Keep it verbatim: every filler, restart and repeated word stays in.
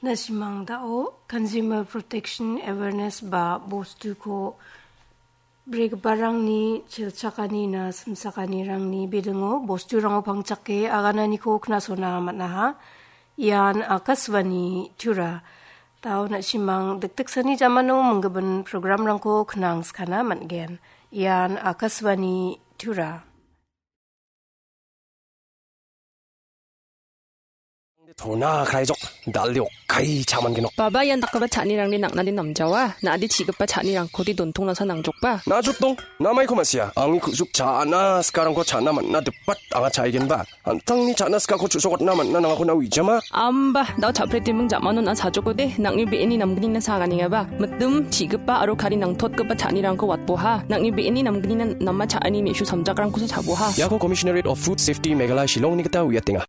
Nasimang dao Consumer Protection Awareness ba bostuko bregiparangni chelchakanina simchakanirangni bidingo bosturango pangchake agananiko knasona man·aha. Ian Akashvani Tura. Dao nasimang dikdiksani jamano minggimin programrangko knangskana man·gen. Ian Akashvani Tura. Tona kraijok dal·o kai cha·mangenok. Baba ian dakgipa cha·anirangni nang·nade namjawa. Na·ade chi·gipa cha·nirangkode dontong nasa nangjokba. Najotdong, namaiko ma·sia. Angni ku·suk cha·na sikarangko cha·na man·na dipat anga cha·aigenba. An·tangni cha·na sikako chu·sokatna man·na nangako na uijama. Amba, dao cha·pretiming jamano na sajokode, nang·ni be·eni namgnina saganengaba. Mitim, chi·gipa aro kari nangtotgipa cha·nirangko watboha. Nang·ni be·eni namgnina nama cha·ani me·su samjakrangkosa chaboha. Iako Commissionerate of Food Safety Meghalaya Shillongni gita uiatenga.